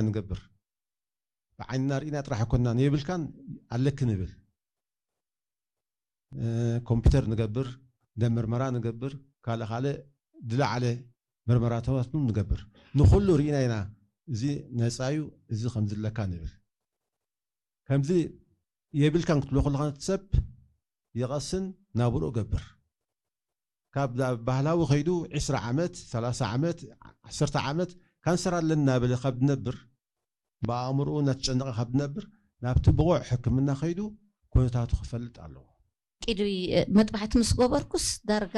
ንገብር። ብዓይንና ርኢና ጥራሕ ኣይኮንናን፣ የብልካን ኣለክን ንብል። ኮምፒውተር ንገብር፣ ደም ምርመራ ንገብር፣ ካልእ ካልእ ዝለዓለ ምርመራታት ንገብር። ንኹሉ ርኢና ኢና፣ እዚ ነፃ እዩ፣ እዚ ከምዚ ኣለካ ንብል። ከምዚ የብልካን ክትብሎ ከለኻ እቲ ሰብ ይቐስን ናብርኡ ገብር። ካብ ባህላዊ ከይዱ ዕስራ ዓመት፣ ሰላሳ ዓመት፣ ዓሰርተ ዓመት ካንሰር ኣለና በለ ካብ ዝነብር፣ ብኣእምርኡ እናተጨነቐ ካብ ዝነብር፣ ናብቲ ብቑዕ ሕክምና ከይዱ ኩነታቱ ክፈልጥ ኣለዎ። ቅድሚ መጥባሕቲ ምስ ገበርኩስ ዳርጋ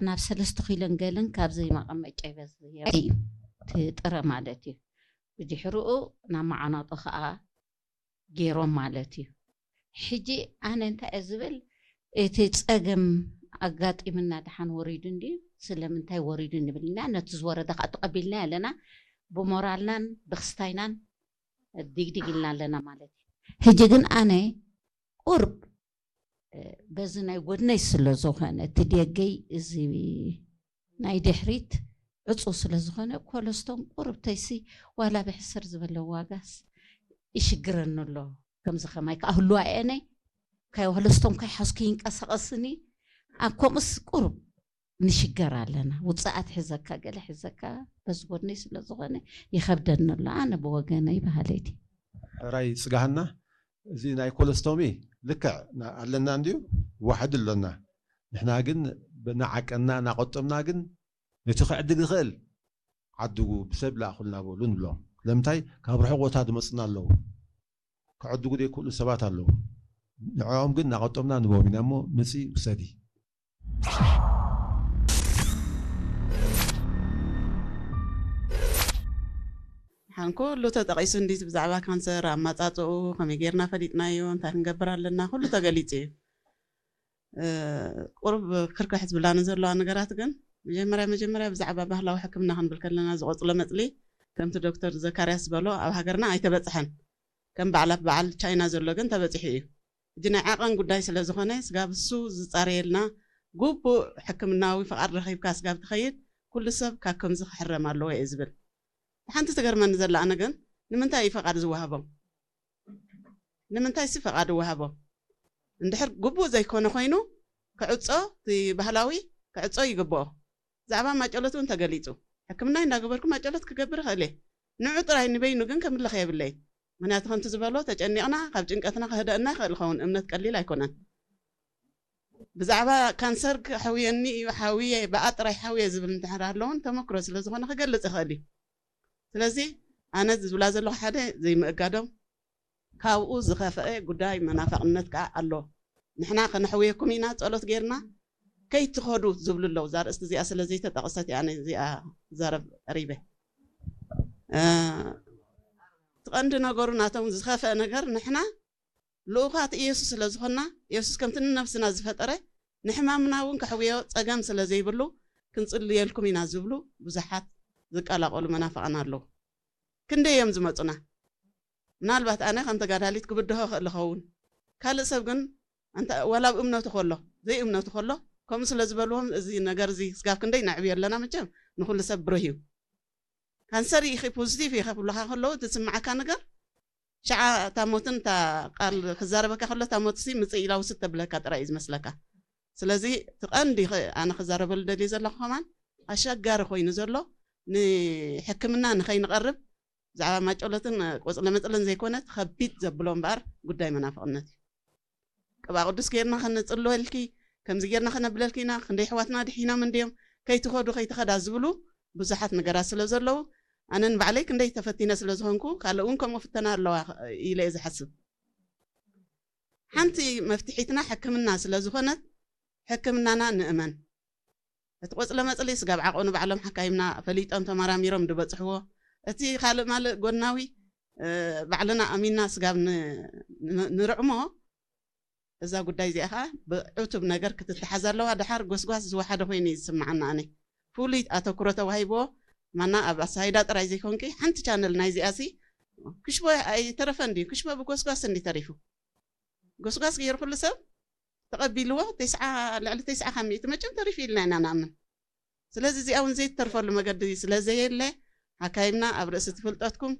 ናብ ሰለስተ ኪሎን ገለን ካብዚ መቐመጫ ይበዝሕ እዩ፣ እቲ ጥረ ማለት እዩ። ብድሕርኡ ናብ መዓናጦ ከዓ ገይሮም ማለት እዩ። ሕጂ ኣነ እንታይ እየ ዝብል፣ እቲ ፀገም ኣጋጢምና ደሓን ወሪዱ እንድዩ፣ ስለምንታይ ወሪዱ ንብል ኢና። ነቲ ዝወረደ ከዓ ተቐቢልና ኣለና። ብሞራልናን ብክስታይናን ዲግዲግ ኢልና ኣለና ማለት እዩ። ሕጂ ግን ኣነ ቁርብ በዚ ናይ ጎድነይ ስለ ዝኾነ እቲ ደገይ እዚ ናይ ድሕሪት ዕፁ ስለ ዝኾነ ኮለስቶን ቁርብተይሲ ዋላ ብሕስር ዝበለ ዋጋስ ይሽግረኒ ኣሎ። ከምዚ ከማይ ከዓ ህልዋ እየነይ ካይ ኮለስቶን ካይ ሓዝኩ ይንቀሳቐስኒ ኣብ ከምኡስ ቁርብ ንሽገር ኣለና። ውፅኣት ሕዘካ ገለ ሕዘካ በዚ ጎድነይ ስለ ዝኾነ ይኸብደኒ ኣሎ ኣነ ብወገነይ በሃለይቲ። ሕራይ ፅጋህና እዚ ናይ ኮለስቶሚ ልክዕ ኣለና እንድዩ ዋሕዲ ኣሎና። ንሕና ግን እናዓቀና እናቆጠምና ግን ነቲ ክዕድግ ዝኽእል ዓድጉ ብሰብ ላእኹልና በሉ ንብሎም። ስለምንታይ ካብ ርሑቕ ቦታ ዝመፁና ኣለዉ። ክዕድጉ ዘይክእሉ ሰባት ኣለዉ። ንዕኦም ግን እናቆጠምና ንቦም ኢና እሞ ምፂ ውሰዲ። ሓን ኩሉ ተጠቒሱ እንዲት ብዛዕባ ካንሰር ኣማፃፅኡ ከመይ ጌርና ፈሊጥናዮ እንታይ ክንገብር ኣለና ኩሉ ተገሊፁ እዩ። ቁሩብ ክርክሕ ዝብላኒ ዘለዋ ነገራት ግን መጀመርያ መጀመርያ ብዛዕባ ባህላዊ ሕክምና ክንብል ከለና ዝቆፅሎ መፅሊ ከምቲ ዶክተር ዘካርያስ ዝበሎ ኣብ ሃገርና ኣይተበፅሐን። ከም በዓላት በዓል ቻይና ዘሎ ግን ተበፂሑ እዩ። ሕጂ ናይ ዓቐን ጉዳይ ስለ ዝኾነ ስጋብ እሱ ዝፃረየልና ግቡእ ሕክምናዊ ፍቓድ ረኺብካ ስጋብ ትኸይድ ኩሉ ሰብ ካብ ከምዚ ክሕረም ኣለዎ እየ ዝብል። ሓንቲ ትገርመኒ ዘላ ኣነ ግን ንምንታይ እዩ ፈቓድ ዝወሃቦም? ንምንታይ ሲ ፈቓድ ይወሃቦ? እንድሕር ግቡእ ዘይኮነ ኮይኑ ክዕፆ እቲ ባህላዊ ክዕፆ ይግብኦ። ብዛዕባ ማጨሎት እውን ተገሊፁ። ሕክምናይ እንዳገበርኩ ማጨሎት ክገብር ይኽእል እየ። ንዑ ጥራይ ንበይኑ ግን ከምልኽ የብለይን። ምክንያቱ ከምቲ ዝበሎ ተጨኒቕና ካብ ጭንቀትና ክህደእና ይኽእል ይኸውን። እምነት ቀሊል ኣይኮነን። ብዛዕባ ካንሰር ከሕውየኒ እዩ ሓውየ ብኣ ጥራይ ሓውየ ዝብል እንድሕር ኣሎ እውን ተመክሮ ስለ ዝኾነ ክገልፅ ይኽእል እዩ። ስለዚ ኣነ ዝብላ ዘለኹ ሓደ ዘይምእጋዶም ካብኡ ዝኸፍአ ጉዳይ መናፍቕነት ከዓ ኣሎ። ንሕና ከነሕውየኩም ኢና ጸሎት ጌርና ከይትኸዱ ዝብሉ ኣለዉ። እዛ ኣርእስቲ እዚኣ ስለ ዘይተጠቐሰት እየ ኣነ እዚኣ ክዛረብ ቀሪበ። እቲ ቀንዲ ነገሩ ናቶም ዝኸፍአ ነገር ንሕና ልኡኻት ኢየሱስ ስለ ዝኾንና ኢየሱስ ከምቲ ንነብስና ዝፈጠረ ንሕማምና እውን ከሕውዮ ጸገም ስለ ዘይብሉ ክንጽልየልኩም ኢና ዝብሉ ብዙሓት ዝቀላቐሉ መናፍቓን ኣለዉ። ክንደይ እዮም ዝመፁና? ምናልባት ኣነ ከም ተጋዳሊት ክብድሆ ክእል ኸውን። ካልእ ሰብ ግን ዋላ ኣብ እምነቱ ከሎ ዘይእምነቱ ከሎ ከምኡ ስለ ዝበልዎም እዚ ነገር እዚ ስጋብ ክንደይ ነዕብዮ ኣለና። መቸም ንኩሉ ሰብ ብሩህ እዩ። ካንሰር ኢኺ ፖዚቲቭ ኢኺ ክብሉካ ከለዉ ዝስምዓካ ነገር ሸዓ እታ ሞትን እታ ቃል ክዛረበካ ከሎ እታ ሞት ሲ ምፅእ ኢላ ውስድ ተብለካ ጥራይ እዩ ዝመስለካ። ስለዚ እቲ ቀንዲ ኣነ ክዛረበሉ ደልየ ዘለኹ ከማን ኣሸጋሪ ኮይኑ ዘሎ ንሕክምና ንኸይንቐርብ ብዛዕባ ማጨሎትን ቆፅለ መፅልን ዘይኮነ ከቢድ ዘብሎ እምበኣር ጉዳይ መናፍቕነት እዩ። ቅብኣ ቅዱስ ጌርና ከነፅልወልኪ ከምዚ ጌርና ከነብለልኪ ኢና። ክንደይ ኣሕዋትና ድሒኖም እንድዮም ከይትኸዱ ከይትኸዳ ዝብሉ ብዙሓት ነገራት ስለ ዘለዉ ኣነ ንባዕለይ ክንደይ ተፈቲነ ስለ ዝኾንኩ ካልእ እውን ከምኡ ፍተና ኣለዋ ኢለ እየ ዝሓስብ። ሓንቲ መፍትሒትና ሕክምና ስለ ዝኾነት ሕክምናና ንእመን። እቲ ቆፅለ መፅሊ ስጋብ ዓቐኑ ባዕሎም ሓካይምና ፈሊጦም ተመራሚሮም ዝበፅሕዎ እቲ ካልእ ማልእ ጎናዊ ባዕልና ኣሚንና ስጋብ ንርዕሞ እዛ ጉዳይ እዚኣ ከዓ ብዕቱብ ነገር ክትተሓዝ ኣለዋ። ደሓር ጎስጓስ ዝወሓደ ኮይኑ እዩ ዝስምዓና ኣነ ፍሉይ ኣተኩሮ ተዋሂብዎ ማና ኣብ ኣሳይዳ ጥራይ ዘይኮንቂ ሓንቲ ቻነል ናይዚኣ ሲ ክሽቦ ኣይተረፈ እንዲ ክሽቦ ብጎስጓስ እንዲ ተሪፉ ጎስጓስ ገይሩ ኩሉ ሰብ ተቐቢልዎ ተስዓ ልዕሊ ተስዓ ካብ ሚእቲ መቸም ተሪፉ ኢልና ኢና ንኣምን። ስለዚ እዚኣ እውን ዘይትተርፈሉ መገዲ ስለ ዘየለ ሓካይምና ኣብ ርእሲ ትፍልጠትኩም